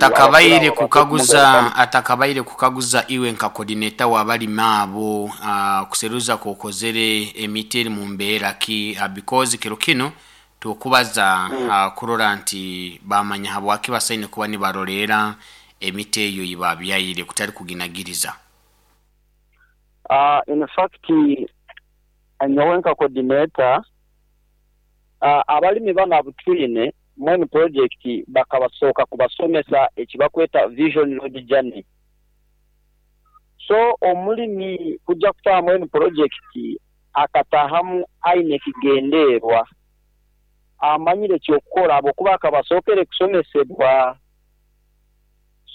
Atakabaire Abakuru abo kukaguza bakumugarukamu. Atakabaire kukaguza iwe nka coordinator w'abalimi abo, kuseruza kokozere emiti eri mu mbeera ki, because kiro kinu tukubaza kurora nti bamanya habwaki basaine kuba nibaroleera emiti eyo yibabyaire kutali kuginagiriza. In fact nyowe nka coordinator, abalimi banu abutwine mwenu project bakabasooka kubasomesa ekibakweta Vision Road Journey. So omulimi kuja kutaaha mwenu project akataahamu aine ekigendeerwa, amanyire ekyokukora ahabwokuba akaba asookere kusomesebwa.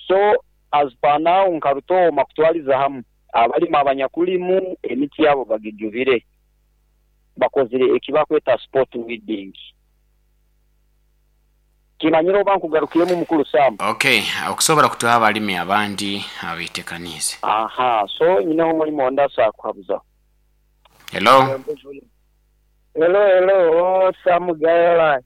So as per now nka Rutooma kutwaliza hamu abalimi abanyakulimu emiti yabo bagijubire, bakozire ekibakweta spot weeding. Kimanyire oba nkugarukiremu, mukulu Sam. Okay, okusobora kutuha abalimi abandi abetekaniize. Aha, so nyineho omulimi ondi asobola kuhabuzaho. Hello. Hello hello Sam Gaela.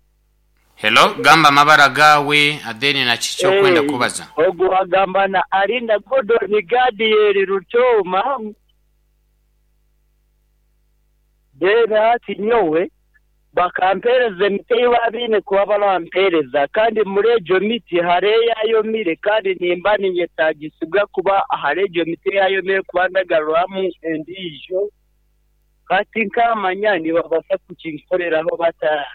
Hello, gamba amabara gaawe then na kiki okwenda kubaza. Ogu agamba na Alinda Gordon Gadiel Rutooma. Then hati nyowe bakampereza emiti ei baabaine kuba barampereza kandi muri egyo miti hariho eyayomire kandi nimba ninyetaagisibwa kuba ahari egyo miti eyayomire kuba ndagaruramu endiijo. Hati nkaamanya nibabaasa kukinkoreraho bata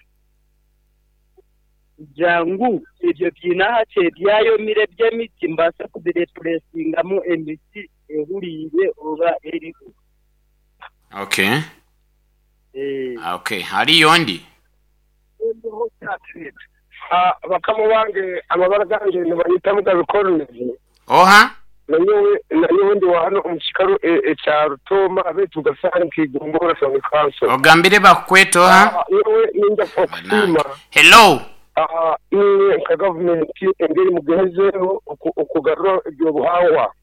kugira ngu ebyo biine ahakye ebyayomire eby'emiti mbaase kubirepuresingamu emiti ehuriire oba eriho. Okay. Okay. Hariyo ondi? Bakama bange, amabara gange nibanyeta Mugabe Collins. Oha? Nanyowe ndi wa hanu omu kikaro ekya Rutooma beitu Gasaari nka Igombora Town Council. Ogambire bakukweta oha? Nyowe ninza okusiima Hello. inywe nka gavumenti engeri mugezeho okugarura ebyobuhangwa.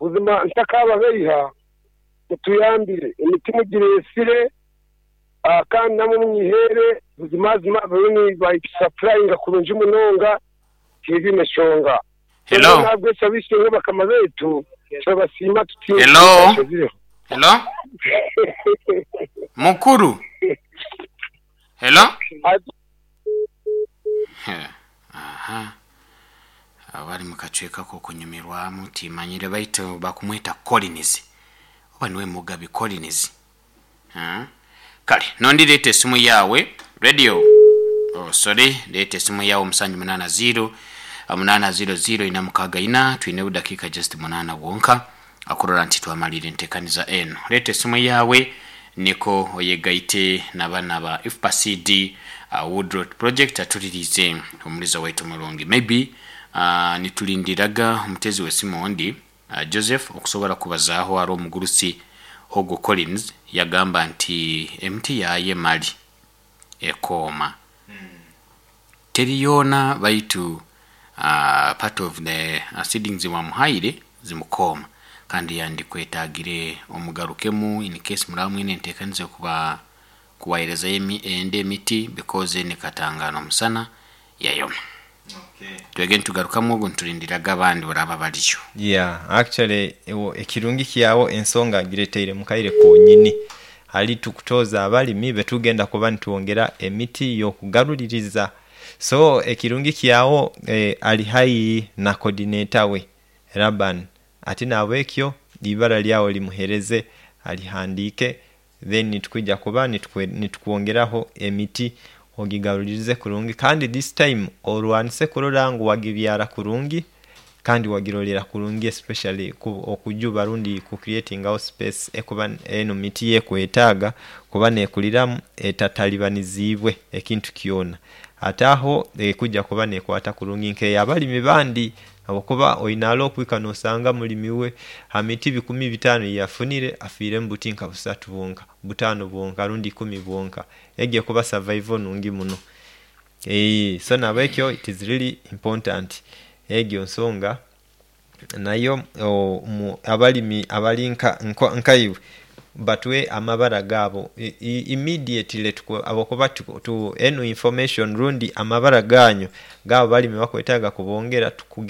Buzima ntakababeiha, mutuyambire emiti mugireesire kandi namwe munyiheere buzimazima bariyo nibagisapurayinga kurungi munonga tihaine nshonga. Hello. Nahabwekyo ab'eishe-emwe bakama baitu turabasiima tutiine Hello. ekiziriho. Hello. Mukuru. Hello. Aha. Abali mu kacweka k'okunyumirwamu timanyire baitu bakumweta Collins. Oba niwe Mugabi Collins. Kale nondi leeta esimu yaawe. Radio. Oh sorry, leeta esimu yaawe omusanju munaana ziiro, munaana ziiro ziiro ina mukaaga ina. Twine obudakiika just munaana bwonka okurora nti twamaliira enteekaniza eno. Leeta esimu yaawe niko oyegaite na bana aba IFPA-CD Woodrot Project atuliriize omuliza waitu omurungi. Maybe nitulindiraga omuteezi w'esimu ondi Joseph okusobora kubazaaho ari omugurusi ogu Collins yagamba nti emiti yaayo emali ekooma teri yoona baitu part of the seedings wamuhaire zimukooma kandi yandikwetagire omugarukemu in case muraba mwine entekaniza yokuba kuwayerezayo endi emiti because eno ekatangana omusana yayoma. Twege nitugarukamu ogu nitulindiraga abandi baraba bariyo. Yeah, actually ekirungi kyawo ensonga agireteire mukaire konyini. Ali tukutooza abalimi betugenda kuba nitwongera emiti yokugaluliriza. So ekirungi kyawo ali haihi na coordinator we Laban ati nabwekyo eibara lyawo limughereze alihandiike then tukwija kuba nitukwongeraho emiti ogigalulirize kurungi kandi this time olwanise kurora ngu wagibyara kurungi kandi wagirolera kurungi especially okujuba rundi ku creatingawo space ekuba eno miti yekwetaaga kuba nekuliramu etatalibanizibwe ekintu kyona. Ate agho ekuja kuba nekwata kurungi nkeyabalimi bandi habwokuba oina ale okwika nosanga mulimi we ha miti bikumi bitaanu eyeyafunire afiiremu buti nka busatu bwonka, butaanu bwonka rundi ikumi bwonka. Egyo ekuba savaivo nungi muno. So nabwekyo it is really important egyo nsonga nayo abalimi abali nkaiwe batuwe amabara gaabo immediately habwokuba eno information rundi amabara ganyu g'abo abalimi abakwetaga kubongera.